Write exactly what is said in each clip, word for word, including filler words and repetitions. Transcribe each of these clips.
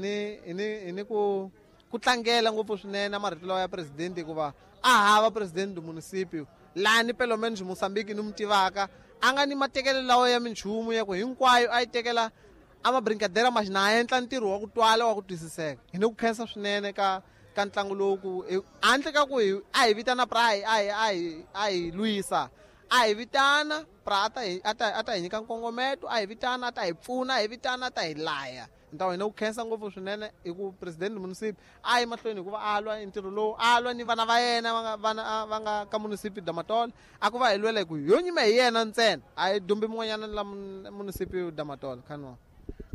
Ni ni ni ku ku tlangela ngopfu swinene marito lawa ya president hikuva a hava president do municipio lani pelo menos Mozambique ni mu tivaka a nga ni matekelo lawa ya minchumu ya ku hinkwayo a yi tekela a ma brincadeira mas na endla ntirho wa ku twala wa ku twisiseka. Hi ni ku khensa swinene ka ka ntlangu lowu ku handle ka ku a hi vitana pra a hi a hi a hi lwisa a hi vitana pra a ta hi a ta a ta hi nyika nkongometo a hi vitana a ta hi pfuna a hi vitana a ta hi laya. Ntawo hina ku khensa ngopfu swinene hi ku president municipal a yi mahlweni hikuva a lwa ntirho lowu a lwa ni vana va yena va nga vana va nga ka municipal Damatole a ku va hi lwela hi ku yo nyima hi yena ntsena a hi dumbi mun'wanyana la municipal Damatole khanwa.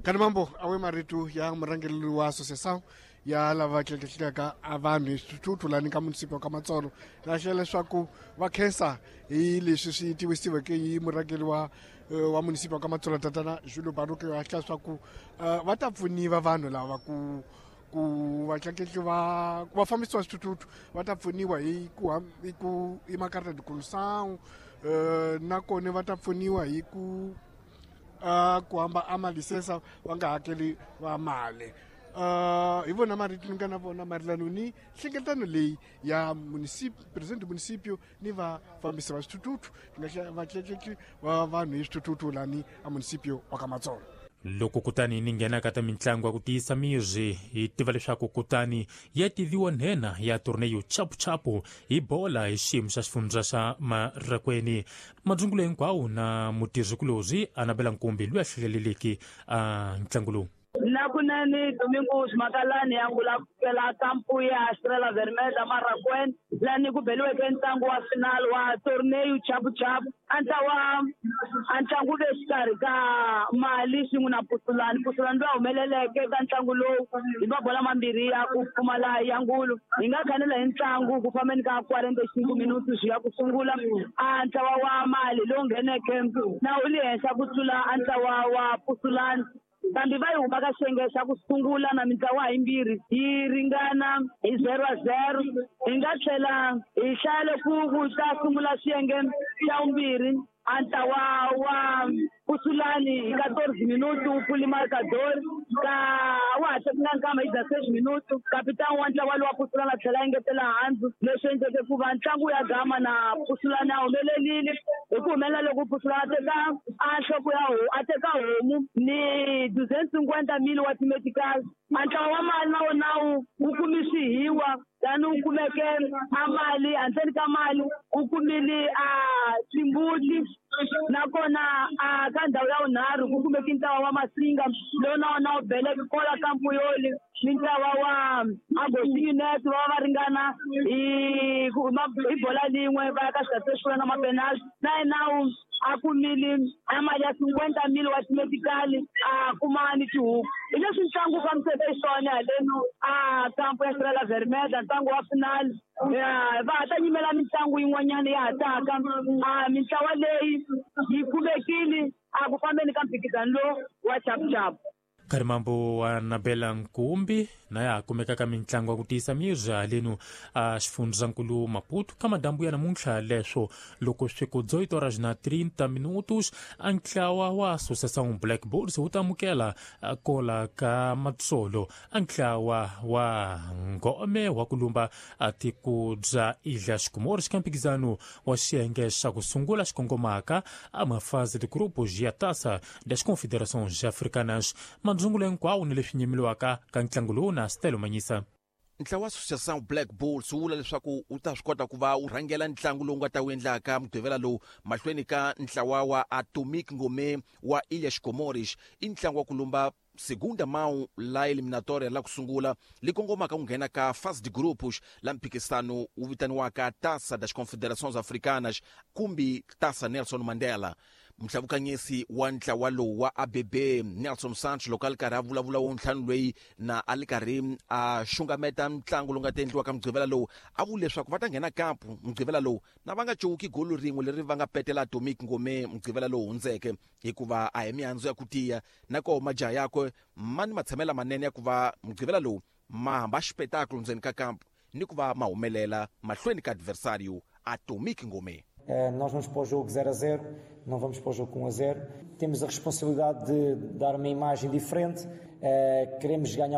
Kanimambo awe marito ya murhangeri wa association ya lava tleketlekaka a vanhu hi swithuthuthu lani ka municipal ka Matsolo na hlela leswaku va khensa hi leswi swi tivisiweke hi murhangeri wa wa municipal ka Matsolo tatana Julio Baruke wa hlela leswaku va ta pfuniwa vanhu lava ku ku va tleketli va va fambisiwa swithuthuthu va ta pfuniwa hi ku hi ku hi makarta de condução nakona va ta pfuniwa hi ku ku hamba a malisensa va nga hakeli va mali. Uh, hi vona marito ni nga na vona mayelana ni nhlengeletano leyi ya municipio president municipio ni vafambisi va swithuthuthu vatleketli va vanhu hi swithuthuthu lani a municipio wa ka Matsolo. Loko kutani ni nghena ka ta mintlangu ya ku tiyisa miri hi tiva leswaku kutani ya tiviwa nhenha ya torneio chapuchapu hi bola hi xiyimo xa xifundza xa Marracuene. Madzungulo hinkwawo na mutirhikulorhi Anabela Nkumbi loyi a hleleleke a ntlangu lowu. Na kunene Domingos Makalani ya ngula kampu ya Estrela Vermelha Marracuene lani ku beliweke ntlangu wa final wa torneio chapuchapu a ntlawa a ntlangu ve xikarhi ka Mali swin'we na Pusulani. Pusulani loyi a humeleleke ka ntlangu lowu hi mabola mambirhi ya ku pfumala ya ngulu. Hi nga khanela hi ntlangu ku fambeni ka quarante-cinco minutos ya ku sungula a ntlawa wa Mali lowu ngheneke na wu le henhla ku tlula a ntlawa wa Pusulani. Kambe va yi huma ka xiyenge xa ku sungula na mintlawa yimbirhi yi ringana hi zero a zero. Hi nga tlhela hi hlaya ku ku ta sungula xiyenge xa vumbirhi a ntlawa wa Pusulani hi quatorze minutos wu pfuli marcador ka wa ha tekanga nkama hi dezesseis minutos kapitani wa ntlawa lowa Pusulani a tlhela a engetela handzu leswi endleke ku va ntlangu ya gama na Pusulani a humelelile hi ku humelela loko Pusulani a teka a nhloko ya a teka homu ni duzentos cinquenta mil wa timetical. A ntlawa wa Mali na wona wu wu kumi swihiwa tani wu kumeke a mali handleni ka mali wu kumile a timbuti nakona a ka ndhawu ya vunharhu ku kumeke ntlawa wa Masinga lowu na wona wu beleke kola kampu yoli ni ntlawa wa Agostinho Neto va va ringana hi hi bola lin'we va ya ka xigatse xo na mapenalty na yena wu a kumile a mali ya cinquenta mil wa timetical a kuma ni tihuku. Hi leswi ntlangu wu fambiseke xiswona haleno a kampu ya Estrela Vermelha ntlangu wa final va ha ta nyimela mitlangu yin'wanyana ya ha taka a mintlawa leyi yi kumekile a ku fambeni ka mphikizano lowu wa chapuchapu. Karimambo wa Nabela Nkumbi na ya kumeka ka mintlangu ya ku tiyisa miri haleno a xifundzankulu Maputo ka madambu ya namuntlha leswo loko swi ku dezoito horas na trinta minutos a ntlawa wa Associação Black Bulls wu ta amukela kola ka Matsolo a ntlawa wa Ngome wa ku lumba a tiko bya Ilhas Comores ka mphikizano wa xiyenge xa ku sungula xikongomaka a mafase de grupos ya Taça das Confederações Africanas. Madzungulo hinkwawo ni leswi nyimeliwaka ka ntlangu lowu na Stelo Manyisa. Ntlawa wa Associação Black Bulls wu vula leswaku wu ta swi kota ku va wu rhangela ntlangu lowu nga ta wu endlaka mugqivela lowu mahlweni ka ntlawa wa Atomic Ngome wa Ilhas Comores. I ntlangu wa ku lumba segunda mão la eliminatória la ku sungula li kongomaka ku nghena ka fase de grupos la mphikisano wu vitaniwaka Taça das Confederações Africanas kumbe Taça Nelson Mandela. Mhlabukanyesi wa ntlawa lowu wa A B B Nelson Santos loko a li karhi a vulavula wo ntlhanu loyi na a li karhi a xungameta ntlangu lowu nga ta endliwa ka mugqivela lowu a vule leswaku va ta nghena kampu mugqivela lowu na va nga cuwuki golo rin'we leri va nga petela Atomic Ngome mugqivela lowu hundzeke hikuva a hi mihandzu ya ku tiya na koho majaha yakwe ma ni matshamela manene ya ku va mugqivela lowu ma hamba xipetakulu ndzeni ka kampu ni ku va ma humelela mahlweni ka adversário Atomic Ngome. Nós vamos para o jogo zero a zero, não vamos para o jogo com um a zero. Temos a responsabilidade de dar uma imagem diferente, queremos ganhar